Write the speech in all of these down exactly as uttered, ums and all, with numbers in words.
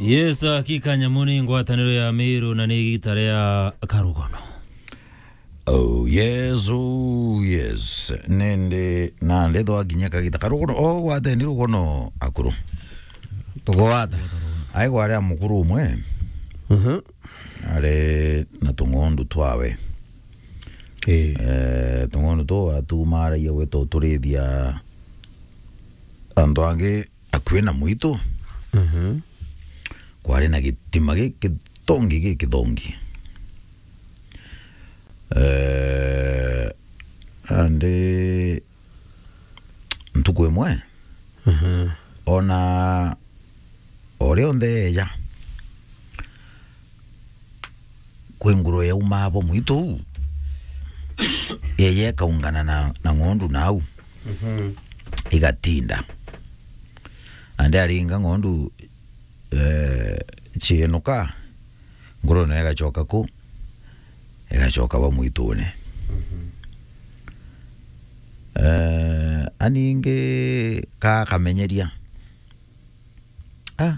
Yes, hakika nyamu ni ngwataniro ya Miru na ni igita ria Karugono. Oh, yes, oh, yes. Nindi, nandi twakinya kagita Karugono. O, gwateni Rugono akuru. Tugwata. Ai gwari a mukuru umwe. Mhm. Ari na tung'ondu twawe. Eh. Eh, tung'ondu tu atumaragia gwita uturithia antu angi akui na mwitu. Mhm. Kwari na gitima gikithongi, gikithongi. Eh, andi ntuku imwe, mhm, ona o rionthe eeja, kwi ngurwe yaumaa bo mwitu uu, yeeja ikaungana na, na ng'ondu nau, mhm, igatinda. Andi aringa ng'ondu, eh, ciinuka, ngurwe nayo igacoka ku, igacoka bo mwitune. Mhm. Eh, aningi ka kamenyeria. Ah.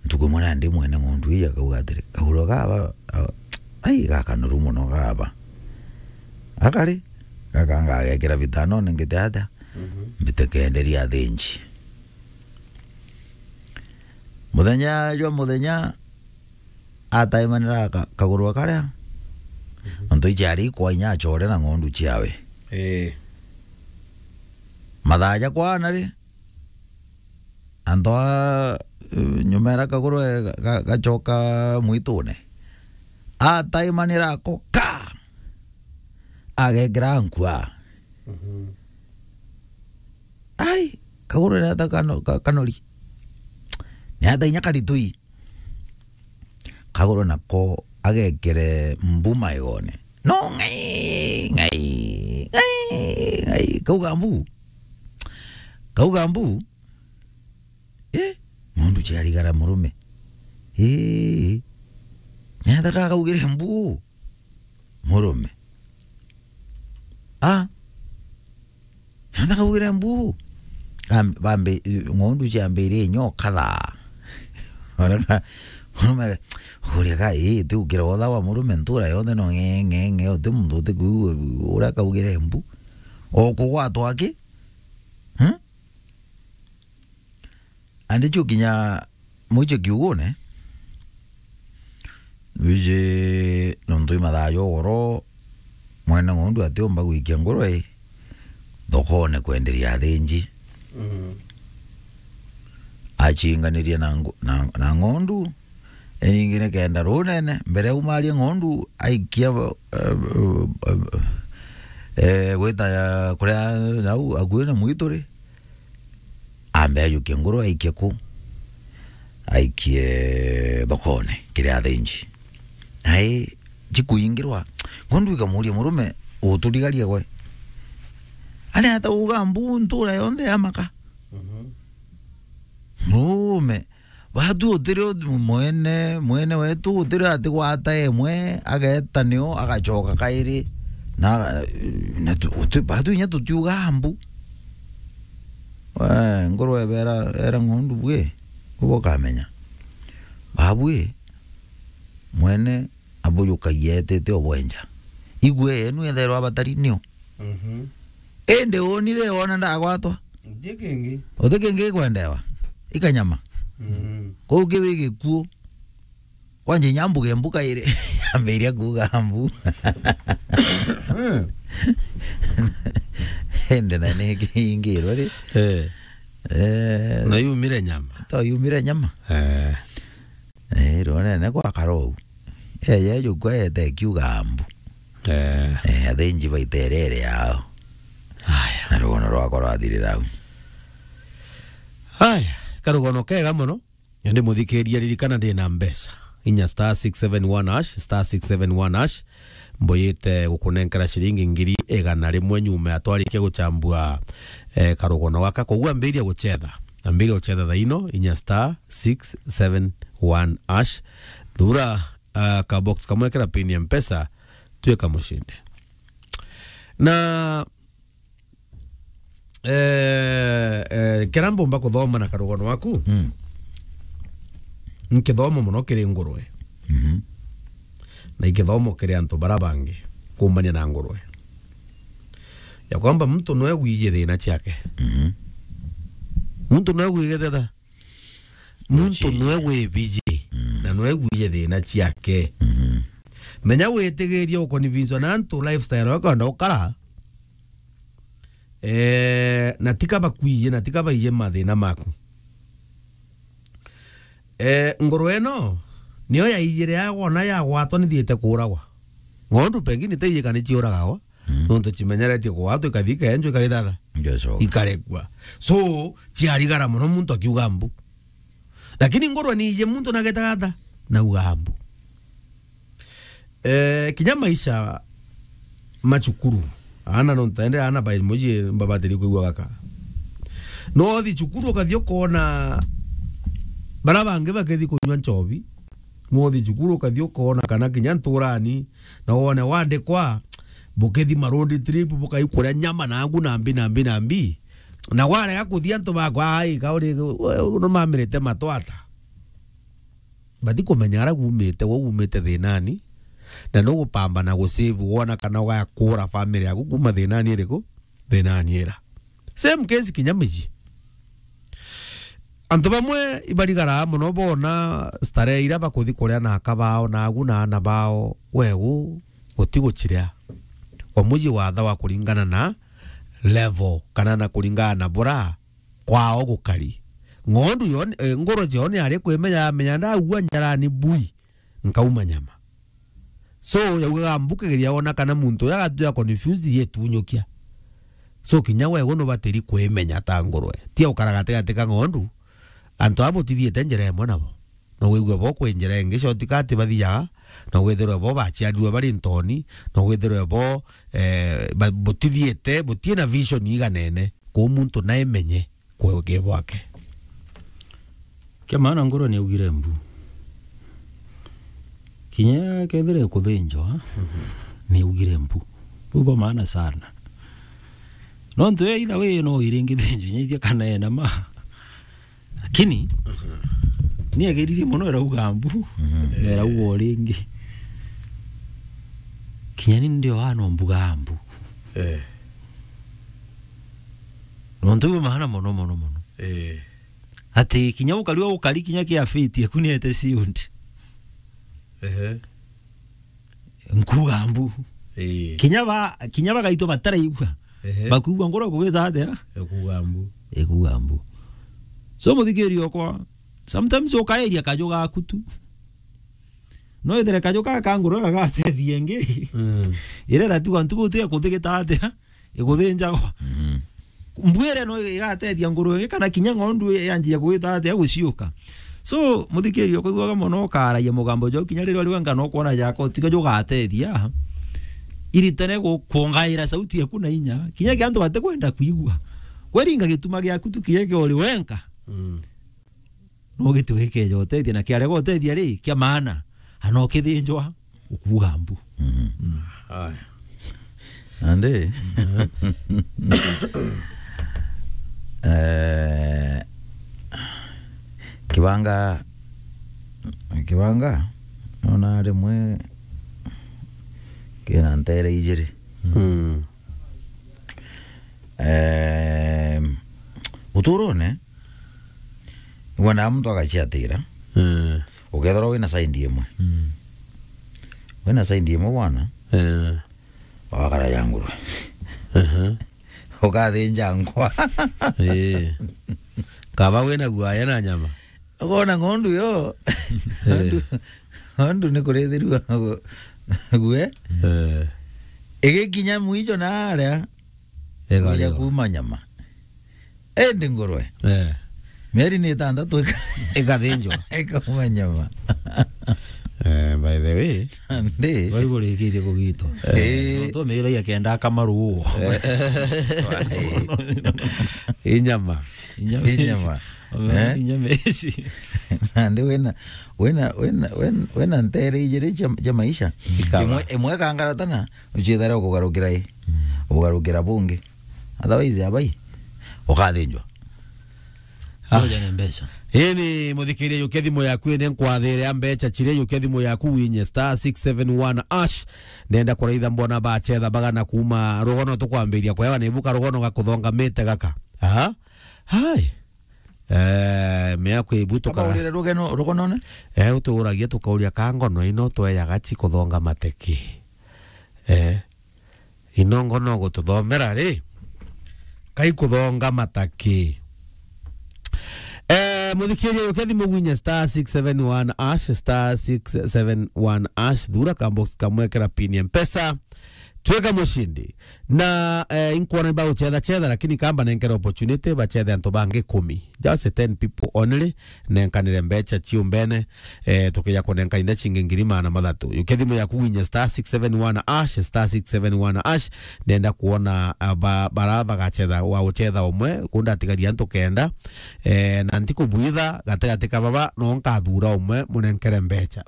Ntuku imwe nandi mwene ng'ondu ii akauga atiri, "Kaguru gaba, a-, ai, gakanoru mono gaba." Akari, gaka ngagekira bitanone ngite atia? Mhm. Mbite kenderia athinji. Muthenya jwa muthenya, ataimanira ka-, kaguru karia, mhm, nontu iciari ikwa inya acore na ng'ondu ciawe. Ii. Mathaa ja kwana ri, antu a, nyuma era kaguru ga-, ga-, gacoka mwitune, ataimanira ako ka, agekira nkua. Mhm. Ai, kaguru ni ata kano-, ka-, kanori? Ni ata inya karitui? Kaguru nako agekire mbu maigone. No, ng'ai, ng'ai, ng'ai, ng'ai. Kauga mbu. Kauga mbu. Eh, ng'ondu ciarigara murume. Eh, ni ata kakaugire mbu? Murume. Ah. Nanda kaugire mbu. Kam-, bambi-, ng'ondu ciambirie inyo kathaa. Ona ka-, murume, uria ka, ii, ti ukira otha wa murume ntura yonthe no ng'e, ng'e, ng'e, uti muntu uti ku, uria kaugire mbu. O kugwatwa aki? Huh? Andi cio kinya mwicho kiugune, wiji nontu i mathaa ja ugoro, mwene ng'ondu atiumba gwikia ngurwe thokone kwenderia athinji. Mm. Achinganirie na ngu-, na, na ng'ondu, iringi nikenda runene, mbere aumarie ng'ondu, aikia, eh, eh, eh, gwita ya kuria nau akui na mwitu ri, ambe ajukie nguru aikie ku, aikie thokone kiri athinji. Ai, jikuingirwa, ng'ondu ikamuria murume, "Uturigaria gwe? Ari ata uga mbu ntura yonthe ya maka?" Mhm. Murume, batu utiri u-, mwene, mwene wetu utiri atigwata emwe, ageta nio, agacoka kairi, na, na tu-, uti-, batu inya tutiuga mbu. We, nguru ebera, era ng'ondu bwi, ubo kamenya. Babwi, mwene abujukagia etete obwenja. Igwe yenu etherwa abatari nio. Mhm. Indi unire wona ndagwatwa? Uti kingi. Uti kingi ikwendewa? Ikanyama. Mm. Kou kiu i gikuo. Kwanja inya mbuge mbu kairi, yambiria kuuga mbu. Mm. Indi na ni kiingirwe ri. Eh. Eh. Na yumire nyama. To yumire nyama. Eh. Eh, rwonene gwakara uu. Eh, yejukwa yete ikiuga mbu. Eh. Eh, athinji baita irere yao. Aya. Na rugono rwakwa rwathirira au. Aya, karugono kega mono. Ndi muthikiria, ririkana ndi na mbeca. Inya star six seven one hash, star six seven one hash. Mbuyite gukunenkera ciringi ngiri igana rimwe nyuma ya twarikia guchambua, eh, karugono gaka. Koguo ambiria guchetha. Ambiria guchetha thaino, inya star six seven one hash. Thura, ah, ka box kamwe kira pin ya Mpesa, twika mushinde. Na, eh, eh, kira mbumba kuthoma na karugono waku, mm, nkithomo mono kiri ngurwe. Mhm. Na ikithomo kiri antu bara bangi kuumania na ngurwe. Ya kwamba muntu nwe wiji thina ciake. Mhm. Muntu nwe wiji thina. Muntu nwe wibiji. Mm. Na nwe wiji thina ciake. Mhm. Menya witigirie ukonvinswa na antu lifestyle yako ndo ukara. Eh, na tika bakwiji, na tika baije mathina maku. Eh, ngurwe ino, niyo yaijire yagwona yagwatwa nithiite kuuragwa. Ng'ondu pengine teijikani ciuragagwa, mm, nontu cimenyeretie kugwatwa, ikathi ikenjwa, ikagithatha. Ngecoka. Ikarekua. So, ciarigara mono muntu akiuga mbu. Lakini ngurwe niije muntu nagetaga ata? Nauga mbu. Eh, kinya maisha ma cukuru, aana no ntende aana ba moji mbabatiri kwigua gaka. No uthi cukuru ukathi ukona bara bangi bakithi kunywa nchobi. No uthi cukuru ukathi ukona kana kinya nturani, na wone wandikwa, bukithi ma road trip, bukai kuria nyama na angu na mbi, na mbi, na mbi. Na warega kuthi antu bakwa, ai, kauri, we, no mamirite matwata. Bathi kumenya ara gumite, we gumite thinani, na nugupambana gu save wona kana ugakura family yaku kuma thinani iriku? Thinani ira. Same case kinya miji. Antu bamwe ibarigara mono bona starehe ira bakuthi kuria na aka bao, na agu na ana bao, wegu guti guciria. Kwa muji wathawa kuringana na level, kana na kuringana na bura kwao gukari. Ng'ondu yo, eh, ngoro cio ni ari kwimenya, yamenya ndaua njarani bui, nkauma nyama. So, yaugaga mbu kigeria wona kana muntu uyu agatuika confused yetunyukia. So, kinya we gu nubatiri kwimenya ta ngurwe. Tia ukara gatigati ka ng'ondu, antu aba butithiite njira imwe nabo. No wigwe bo kwi njira ingi shortcut bathiaga, no withirwe bo baciarirwe bari ntoni, no withirwe bo, eh, ba-, butithiite, butie na vision iganene. Kuu muntu naimenye kwege bwake. Kia maana ngoro ni augire mbu. Kinya kethire kuthinjwa, ni augire mbu. Buu bwa maana sana. Nontu ya itha we no iringi thinjwa, inya ithia kana ena ma. Lakini, ni ageririe mono erauga mbu, mhm, erauga o ringi. Kinya ni ndio ano mbuga mbu. Eh. Nontu bwa maana mono, mono, mono. Eh. Ati kinya ukari wa ukari kinya kia fiti, eku ni ete siundi. Ehe. Nkuga mbu. Ii. Kinya ba, kinya bagaitwa bataraigua. Ehe. Bakuigua ngoro kugita atia? Ekuga mbu. Ekuga mbu. So, muthikiri okwa, sometimes ukaeria kaju gaku tu. No ethire kaju gaka ka ngoro gagatethia ingi. Mm. Irera tu antu guti kuthigita atia? Iguthinjagwa. Mhm. Mbu iria no igatethia nguru ingi kana kinya ng'ondu yanjia gwita atia guciuka. So, muthikiri ukaiguaga mono ukaragia mugambo jwau kinya riria uri wenka no kwona jako tiga jugatethia. Iritene gu-, kuongaira sauti yaku na inya. Kinya kia antu batikwenda kuigua. Kweringa gituma giaku tu kinya kia uri wenka. Mm. No gitue gikeja utethia, na kiarega utethia ri, kia maana, ana ukithinjwa, ukuga mbu. Mhm. Mm. Aya. Nandi, eh, kibanga, kibanga, nona rimwe kina ntere ijiri. Mm. Ehm, uturone, wona muntu agaciatira. Eh. Ukethirwa wina side imwe. Mm. Wina side imwe bwana. Eh. Wakara ya ngurwe. Aha. Ukathinja nkwa. Eh. Kaba wina guaya na nyama. Ukona ng'ondu yo. Eh. Ng'ondu, ng'ondu ni kurithirua gu-, gue. Eh. Igikinya mwicho na aria, ikaria, kuuma nyama. Indi ngurwe. Eh. Mieri ni itantatu ika-, ikathinjwa. Ikauma nyama. Eh, by the way. Ndi. Bari kurikirie kugitwa. Eh. Nontu mira ya kenda akamaruo. Eh. Inyama. Inyama. Inyama. Eh? Inyama ici. Nandi wina, wina, wina, wina, wina ntere ijiri cia, cia maisha. Ikaba. Imwe, imwe kangaratana, uciethera ukugarukira i. Mm. Ukugarukira bungi. Otherwise, abai, ukathinjwa. Ah. Uja ni mbeca. Ii ni muthikiria, yukia thimu yaku indi nkwathire a mbeca chire, yukia thimu yaku winye star six seven one ash. Ndenda kuraitha mbona bachetha bagana kuma rugono tukwambiria kwewa ni buka rugono gakuthongamite gaka. Aha. Hai. Eh, mea kwibu tuka- Kaba urire rugeno, rugonone? Eh, uturagia tukauria ka ngono ino tweyaga chi kuthongamate ki? Eh. Inongo no gututhomera ri? Kai kuthongamata ki? Eh, muthikiria, yukia thimu winye star six seven one ash, star six seven one ash, thura ka box kamwe kira pin ya Mpesa, twika mushindi. Na, eh, inkwona iba guchetha chetha, lakini kamba nenkere opportunity bachethe antu bangi kumi. Just ten people only, nenkanire mbecha ciumbene, eh, tukija kunenka inda cingi ngiri magana mathatu. Yukia thimu yaku winye star six seven one ash, star six seven one ash, ndenda kuona, ah, ba-, bara bagachetha, wa guchetha umwe, kunda atigaria antu kenda, eh, na ntikubwitha gatigati ka baba, no nkathura umwe, munenkere mbecha.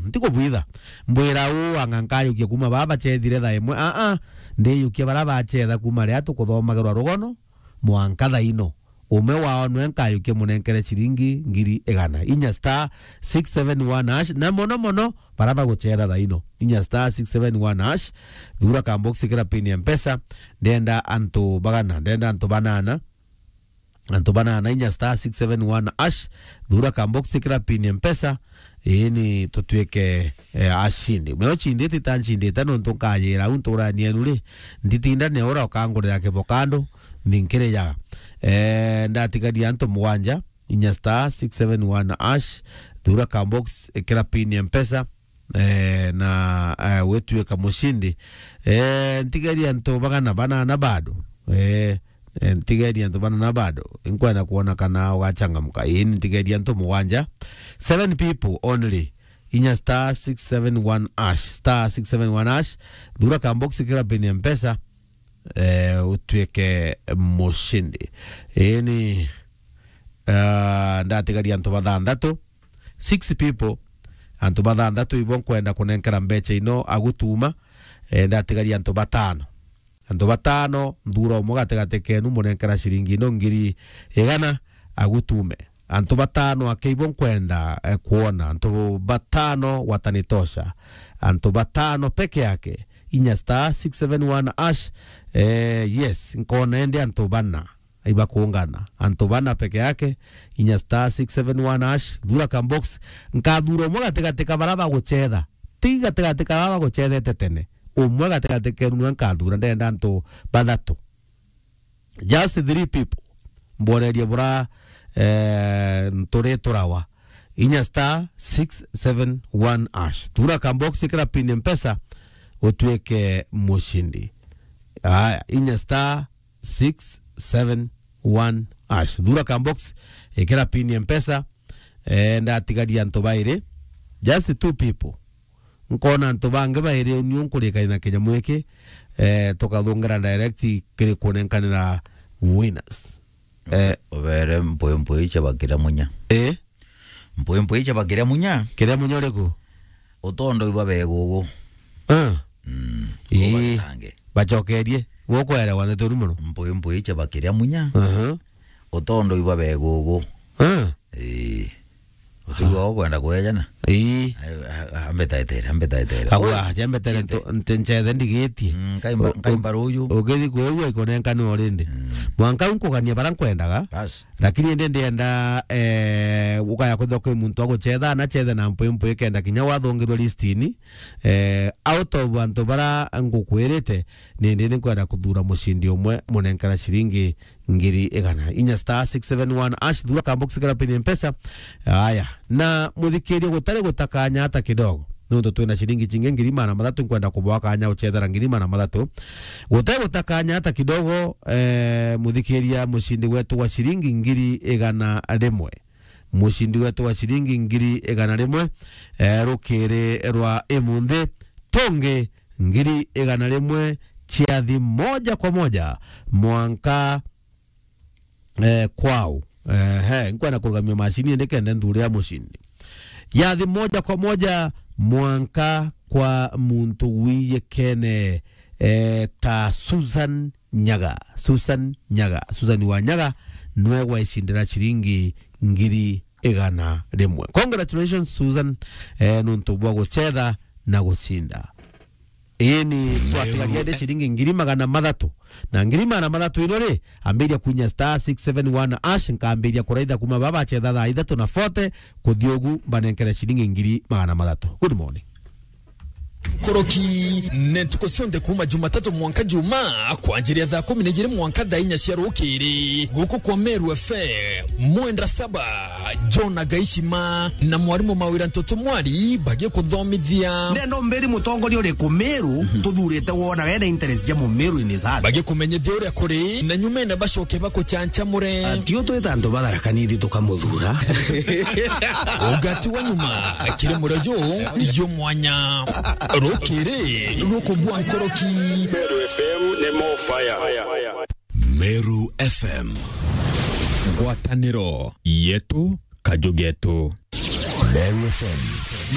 Ntikubwitha, mbwira uu, anga nkayukia kuma baba bachethire thaa imwe, a, a, ndiyukia bara bachetha kuma ria tukuthomagerwa rugono, mwanka thaa ino. Umwe wao nwe nkayukia munenkere ciringi ngiri igana. Inya star six seven one hash, na mono mono, bara baguchetha thaa ino. Inya star six seven one hash, thura ka box kira pin ya Mpesa, ndenda antu bagana, ndenda antu banana, antu banana, inya star six seven one hash, thura ka box kira pin ya Mpesa, Ii ni tutwike, eh, ashindi. Mwe uchindite ta nchindite nontu nkayira au nturani yenu ri, nditinda neura ukangurira kivokando, nthi nkirijaga. Eh, ndatigaria antu mugwanja, inya star six seven one hash, thura ka box, ikira pin ya Mpesa, eh, na, eh, witwika mushindi. Eh, ntigaria antu bagana banana bado. Eh, Eh, ntigeria antu bana na bado. Inkwenda kuona kana ugachangamka. Ii, ntigeria antu mugwanja. Seven people only. Inya star six seven one hash. Star six seven one hash. Thura ka box kira pin ya Mpesa. Eh, utwike mushindi. Ii ni, ah, ndatigaria antu bathanthatu. Six people. Antu bathanthatu ibo nkwenda kunenkera mbecha ino agutuma. Eh, ndatigaria antu batano. Antu batano, nthura umwe gatigati kenu, munenkera ciringi ino ngiri igana, agutume. Antu batano ake ibo nkwenda, eh, kuona. Antu batano watanitosha. Antu batano peke yake. Inya star six seven one hash. Eh, yes, nkona ende antu bana. Ibakungana. Antu bana peke yake. Inya star six seven one hash. Thura ka box. Nkathura umwe gatigati ka bara baguchetha. Ti gatigati ka bara baguchethete tene. Umwe gatigati kenu nwe nkathura, ndenda antu bathatu. Just three people. Mborerie bura, eh, nturi turawa. Inya star six seven one hash. Thura ka box kira pin Mpesa, utwike mushindi. Aya, inya star six seven one hash. Thura ka box, ikira pin Mpesa, eh, ndatigaria antu bairi. Just two people. Nkona antu bangi bairi, niu nkurikania na kinyamu giki, eh, tukathungera direct kiri kunenkanira winners. Eh. Ubere mpwi mpwi cia bakiria munya. Eh? Mpwi mpwi cia bakiria munya. Kiria munya uriku? Utondo iba begugu. Ah. Mm. Ii. Ubatange. Bacokerie. Gukwerewa ndeto uri muno. Mpwi mpwi cia bakiria munya. Aha. Utondo iba begugu. Ah. Ii. Utigwa ukwenda kwejana? Ii. Ai, a-, a-, ambe taetere, ambe taetere. Agwa, oi, jambe tere chinde. Nto-, nte nchethe ndigitie. Mm, nkaimba, u-, u-, nkaimba ruju. Ugithi kwigua ikonenkana already. Mm. Mwanka u nkugania bara nkwendaga. Bas. Lakini indi ndienda, eh, ukaya kwithirwa kwi muntu aguchetha, na chethe na mpwi mpwi kenda kinya wathungirwe listini. Eh, out of antu bara ngukwirite, nindi ni nkwenda kuthura mucindi umwe, munenkera ciringi ngiri igana. Inya star six seven one hash, thura ka box kara pin Mpesa. Aya. Na muthikiria gutari gutakanya hata kidogo. Nontu twina ciringi cingi ngiri magana mathatu, nkwenda kubwa kanya uchethera ngiri magana mathatu. Gutari gutakanya hata kidogo, eh, muthikiria mucindi wetu wa ciringi ngiri igana rimwe. Mucindi wetu wa ciringi ngiri igana rimwe, eh, rukiri rwa imunthi, tongi ngiri igana rimwe ciathi moja kwa moja mwanka, eh, kwao. Eh, he, nkwenda kurugamia macini indi kende nthure ya mucindi. Yathi moja kwa moja mwanka kwa muntu wiyekene, eh, ta Susan Nyaga. Susan Nyaga. Susan wa Nyaga nwe gwaicindira ciringi ngiri igana rimwe. Congratulations, Susan, eh, nuntu bwa gucetha na gucinda. Ii ni twatigagia ndi ciringi ngiri magana mathatu. Na ngiri magana mathatu ino ri, ambiria kunya star six seven one hash, nkambiria kuraitha kuma baba acetha thaa ithatu na forty, kuthi ugu mbanenkere ciringi ngiri magana mathatu. Good morning. Nkoroki, ni ntuku cionthe kuuma Jumatatu mwanka Jumaa, kwanjiria thaa kumi na ijiri mwanka thaa inya cia rukiri. Guku kwa Meru F M, Mwendwa Saba, John Agaishima, na mwarimu Mawira Ntoto Mwari bagikuthomithia. Ndenda umbiri mutongoria uriku Meru tuthurite wona wena interest ja Mumeru in his heart. Bagikumenyithia uria kuri, na nyumene bacoke bakuchanchamure. Ati utwita antu ba Tharaka Nithi tukamuthura. Ugati wa nyuma, kiri murio ju, ju mwanya. Rukiri, rukubwa nkoroki. Meru F M ni more fire. Meru F M. Ngwataniro yetu, kaju getu. Meru F M.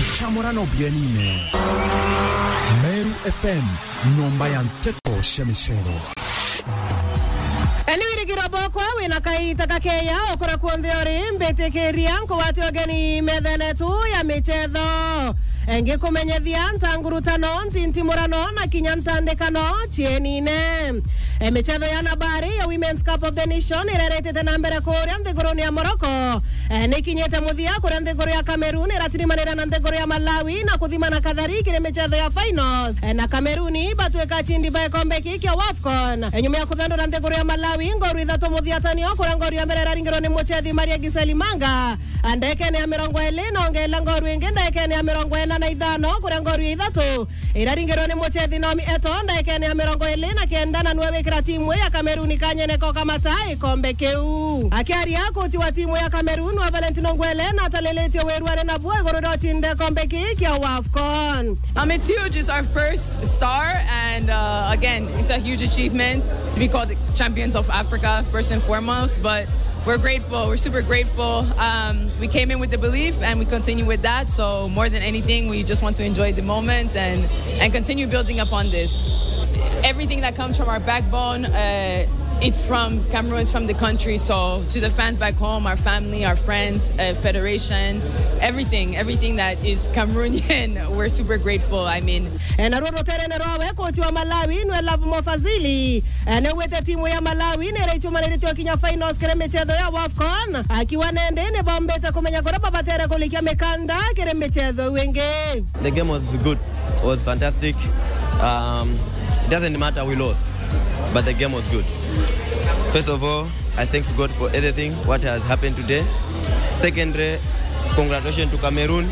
Nchamurano bienine. Meru F M, nyomba ya nteto cia micero. Ni wirigiro bokwa wina kaita kakeya ukura kuonthe uri, mbitikiria nkugwate ugeni methene tu ya michetho. Ngikumenyethia ntangurutano, ntintimurano na kinya ntandikano cienine. E, michetho ya nabari ya Women's Cup of the Nation ireretete na mbere kuria nthiguruni ya Morocco. E, nikinyite muthia kuria nthiguru ya Cameroon iratirimanira na nthiguru ya Malawi na kuthimana kathari kiri michetho ya finals. E, na Cameroon batwika acindi ba gikombe kii kia WAFCON. E, nyuma ya kuthandura nthiguru ya Malawi ngoru ithatu muthiatanio, kuria ngoru ya mbere iraringirwo ni muchethi Maria Giseli Manga, a, ndagikene ya mirongo iri na ongeela ngoru ingi ndagikene ya mirongo ina na ithano, kuria ngoru ya ithatu iraringirwo ni muchethi Naomi Eto ndagikene ya mirongo iri na kenda, na nwe wikira timu ya Cameroon kanyene ko kamata gikombe kiu. Akiaria, kochi wa timu ya Cameroon wa Valentino Ngwele natalilitie wiru ari nabuo iguru ria ucinde gikombe kii kia WAFCON. Um, it's huge. It's our first star, and, uh, again, it's a huge achievement to be called the champions of Africa, first and foremost. But we're grateful. We're super grateful. Um, we came in with the belief, and we continue with that. So more than anything, we just want to enjoy the moment and, and continue building upon this. Everything that comes from our backbone, uh, it's from Cameroon, it's from the country. So to the fans back home, our family, our friends, uh, federation, everything, everything that is Cameroonian, we're super grateful. I mean, e, na ruru ruterene rwawe, kochi wa Malawi nwe Love Mo Fazili, e, niwite timu ya Malawi niraichumaniritie kinya finals kiri michetho ya WAFCON, akiwa nende nibombite kumenya kuria babatere kulikia mikanda kiri michetho iu ingi. The game was good. Was fantastic. Um, it doesn't matter we lost, but the game was good. First of all, I thanks God for everything what has happened today. Secondly, congratulations to Cameroon.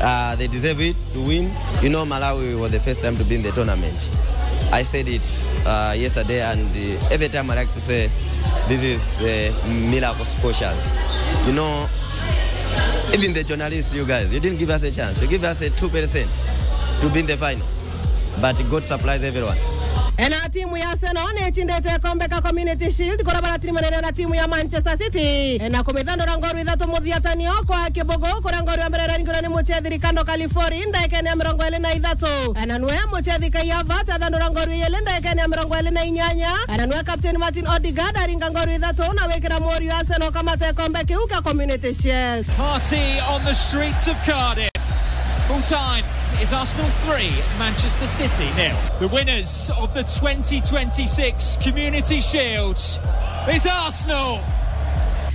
Uh, they deserve it to win. You know, Malawi was the first time to be in the tournament. I said it, uh, yesterday, and, uh, every time I like to say, this is, uh, miracle scotias. You know, even the journalists, you guys, you didn't give us a chance. You give us a two percent to be in the final. But God supplies everyone. E, na timu ya Arsenal ni ichindite gikombe ka Community Shield, kuria baratirimanire na timu ya Manchester City, e, na kumithandura ngoru ithatu muthiatanio kwa kibugu, kuria ngoru ya mbere iraringirwe ni muchethi Ricardo Calafori ndagikene ya mirongo iri na ithatu. E, na nwe muchethi Kai Havertz athandura ngoru ijiri ndagikene ya mirongo iri na inyanya. E, na nwe captain Martin Odegaard aringa ngoru ithatu na wikira muriu Arsenal kamata gikombe kiu kia Community Shield. Party on the streets of Cardiff. Full time is Arsenal three, Manchester City nil. The winners of the twenty twenty-six Community Shield is Arsenal.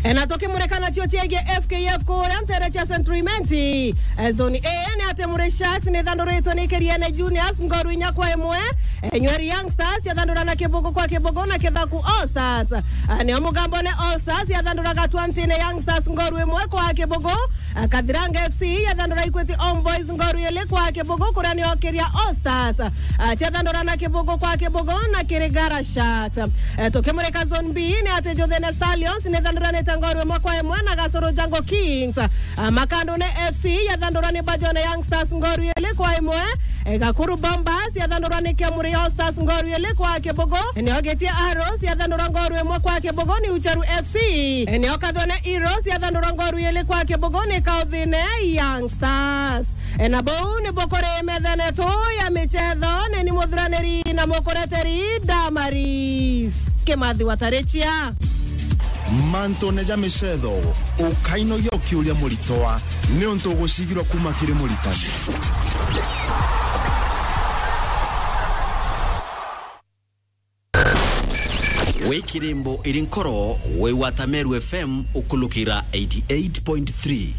E, na tukimurika nacio ciegii F K F kuria ntere cia Saint Clement, e, zone A, ni ati Murray Sharks ni ithanduritwe ni Kiriene Juniors ngoru inya kwa imwe. E, Nyeri Young Stars yathandura na kibugu kwa kibugu na Kithaku All Stars. A, nio Mugambo ni All Stars yathanduraga Twantine Young Stars ngoru imwe kwa kibugu. A, Kathiranga F C yathandura Equity Homeboys ngoru ili kwa kibugu, kuria nio Kiria All Stars, a, ciathandura na kibugu kwa kibugu na Kirigara Sharks. E, tukimurika zone B ni ati Njuthene Stallions ni ithanduranite ngoru imwe kwa imwe na Gasoro Jungle Kings. A, Makandune F C yathandurwa ni Bajone Young Stars ngoru ili kwa imwe. E, Gakuru Bombers yathandurwa ni Kiamuri All Stars ngoru ili kwa kibugu. E, nio Gitia Arrows yathandurwa ngoru imwe kwa kibugu ni Ucharu F C. E, nio Kathone Heroes yathandurwa ngoru ili kwa kibugu ni Kauthine Young Stars. E, na buu ni bukuri methene tu ya michetho, ni ni muthuraniri na mukureteri Damaris Kimathi wa Tarichia. Mantune ja micetho, ukainogia ukiuria muritwa, niuntu ugucigirwa kuma kiri muritani. Wi kirimbo iri nkoro, wi wa Tameru F M ukulukira eighty-eight point three.